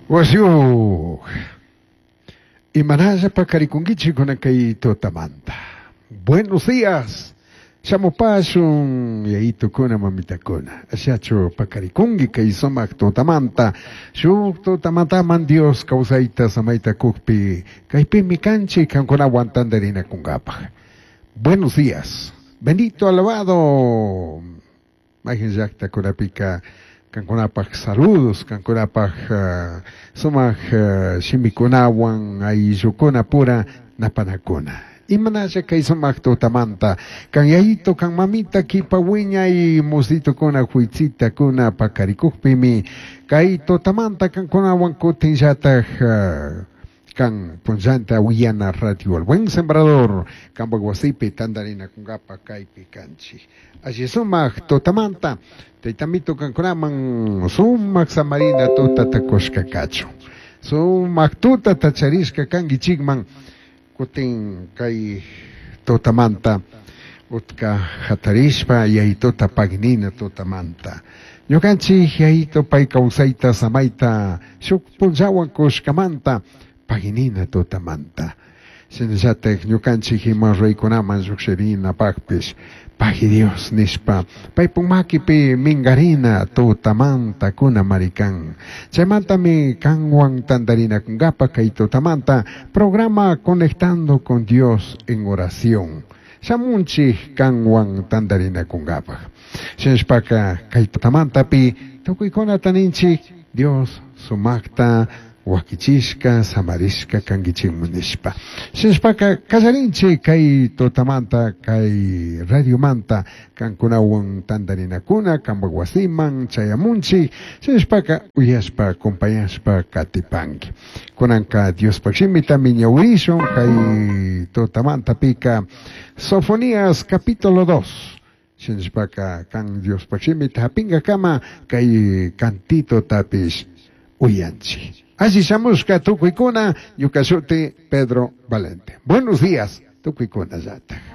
Wasiyuq, imanalla paqarikunkichik kunan kay tutamanta. Buenos días. Shamupashun yayitukuna mamitakuna. Ashachu paqarikunki kay sumaq tutamanta. Shuk tutamantaman Dios kawsayta samayta kuqpi kaypimi kanchik qankunawan tantarinakunkapaq. Buenos días. Bendito alabado. Mayqin llaqtakunapika qankunapaq saludos, qankunapaq sumaq shimikunawan ayllukuna pura napanakuna. Imanalla kay sumaq tutamanta kan yayito kan mamita kipa wiñay musitukuna huitzitakuna paqarikuqpimi kay tutamanta qankunawan kutinllataq kan punllanta uyana radio El Buen Sembrador kanpak wasipi tantarinakunkapaq kaypi kanchik. Alli sumaq tutamanta taytamito qankunaman sumaq samarina tutata kushka kachun. Sumaq tutata charishka kankichikman kutin kay tutamanta utka hatarishpa yayituta pagnina tutamanta. Ñukanchik yayito pay kawsayta samayta shuk punllawan kushkamanta paginina tutamanta. Shinallatak ñukanchik ima ruraykunaman llukshirinapakpish pagui Dios nishpa paypuk makipi minkarina tutamanta kuna marikan. Chaymantami kanwan tantarinakunkapa kay tutamanta programa Conectando con Dios en Oración. Shamunchik kanwan tantarinakunkapak. Shinashpaka kay tutamantapi tukuykunata ninchik Dios sumakta wakichishka samarishka kankichikman nishpa. Shinashpaka kallarinchik kay tutamanta kay radiomanta kankunawan tantarinakuna kanpak wasiman chayamunchik shinashpaka uyashpa acompañashpa katipanki. Kunanka Diospak shimitami ñawirishun kay tutamantapika Sofonías capítulo 2. Shinashpaka kan Diospak shimita hapingakama kay cantito tapish uyanchik. Alli shamushka tukuykuna ñuka shuti Pedro Valente. Buenos días, tukuykuna llata.